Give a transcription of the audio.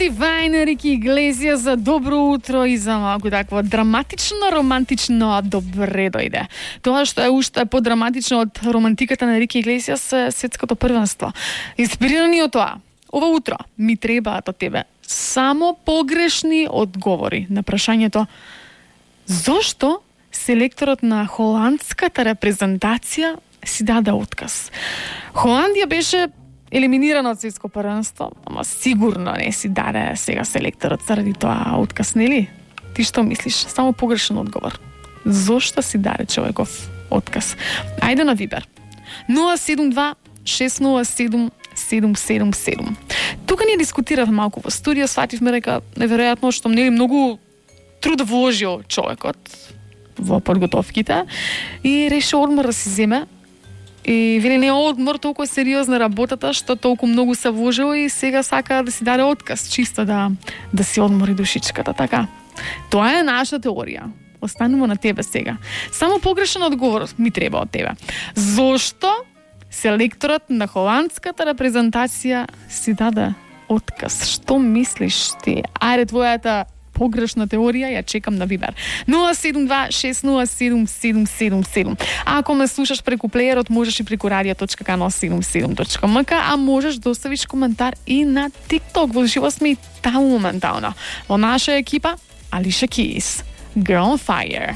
Divine, Рики Иглесијас за добро утро и за малку такво драматично, романтично, добре дојде. Тоа што е уште подраматично од романтиката на Рики Иглесијас е светското првенство. Инспирирани од тоа, ова утро ми требаат од тебе само погрешни одговори на прашањето зошто селекторот на холандската репрезентација си даде отказ. Холандија беше елиминирана од светско првенство, ама сигурно не си даде сега селекторот заради тоа отказ, нели? Ти што мислиш? Само погрешен одговор. Зошто си даде човеков отказ? Ајде на Вибер. 072 607 777. Тука ние дискутиравме малку во студио, свативме дека неверојатно што нели многу труд вложил човекот во подготовките и решил одмор да си земе. И вели не одмор, толку сериозна работата што толку многу се вложил и сега сака да си даде отказ, чисто да си одмори душичката, така. Тоа е наша теорија. Останува на тебе сега. Само погрешен одговор ми треба од тебе. Зошто селекторот на холандската репрезентација си даде отказ? Што мислиш ти? Ајде твојата погрешна теорија, ја чекам на Вибер. 072-607-777. А ако ме слушаш преку плеерот, можеш и преку radio.kano77.mk, а можеш да оставиш коментар и на TikTok. Во живо сме и таму моментално. Во наша екипа, Алиша Кис. Girl on Fire.